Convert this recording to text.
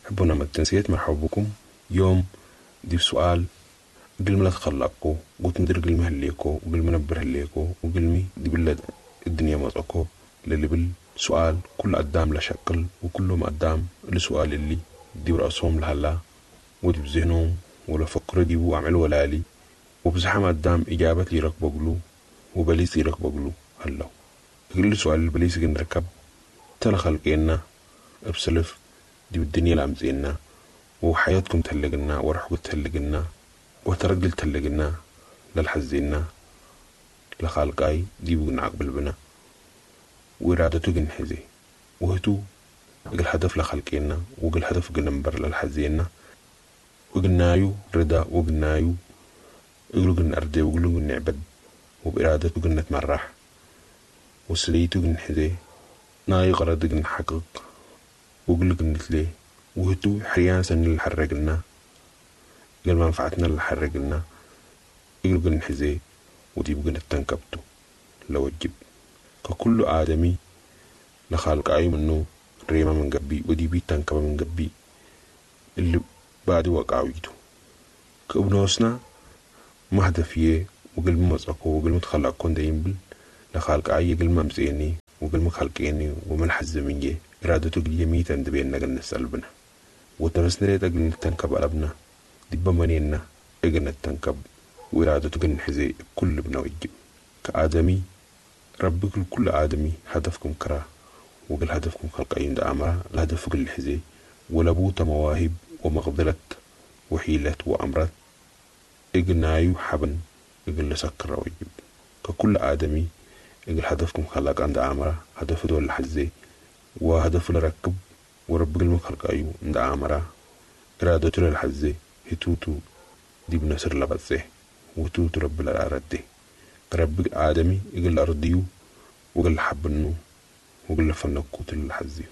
حبنا تنسيت مرحبا بكم يوم دي سؤال قل ما تخلقكو وتمدر قل مهليكو وقل منبر هليكو وقل دي بلد الدنيا مطعكو للي سؤال كل قدام لشكل وكلهم قدام السؤال اللي دي برأسهم لهلا ودي بذهنهم ولا فكروا دي وعملوا ولالي وبزحم قدام إجابة لي ركبقلو وبليس ركبقلو هلا كل سؤال البليس نركب تلا خلقنا بسلف دي بالدنيا لامزينا وحياتكم تهلقنا ورحكم تهلقنا وترجل تهلقنا للحزينا لخالقاي دي بقنا بنا وإرادته جنحزي وهتو الهدف لخلقنا وقل هدف جنبر للحزينا وقلنايو رضا وقلنايو قلو جن أردي وقلو جن نعبد وبإرادته جن نتمرح وسليتو جن حزي ناي غرض جن حقق وقلو جن نتلي وهتو حريان سن اللي حرقنا قل منفعتنا اللي حرقنا قلو جن حزي ودي بجن التنكبتو لو الجب ككل آدمي لخالق أي منه ريما من قبي ودي بي تنكب من قبي اللي بعد وقعويتو كابنوسنا مهدفية وقل مزقو وقل متخلق كون دايم لخالق أي قل ممزيني وقل مخلقيني ومن حزمية إرادته قل يميت عند بيننا قل نسأل وتمسنا ليت قل تنكب قلبنا دي منينا اجنا تنكب وإرادته قل نحزي كل بنا وجب كآدمي ربك كل آدمي هدفكم كرا وقل هدفكم خلق عند أمره الهدف كل حزي ولبوت مواهب ومقدرة وحيلة وأمرت إجنايو حبن إجل سكر وجب ككل آدمي إجل هدفكم خلق عند أمره هدف دول الحزي وهدف لركب ورب المخلق أيو عند أمره إرادته للحزي هتوتو دي بنصر لبزه وتوتو رب الأرض رب آدمي إجل أرضيو وقل حبنو وقل فنكوت الحزي.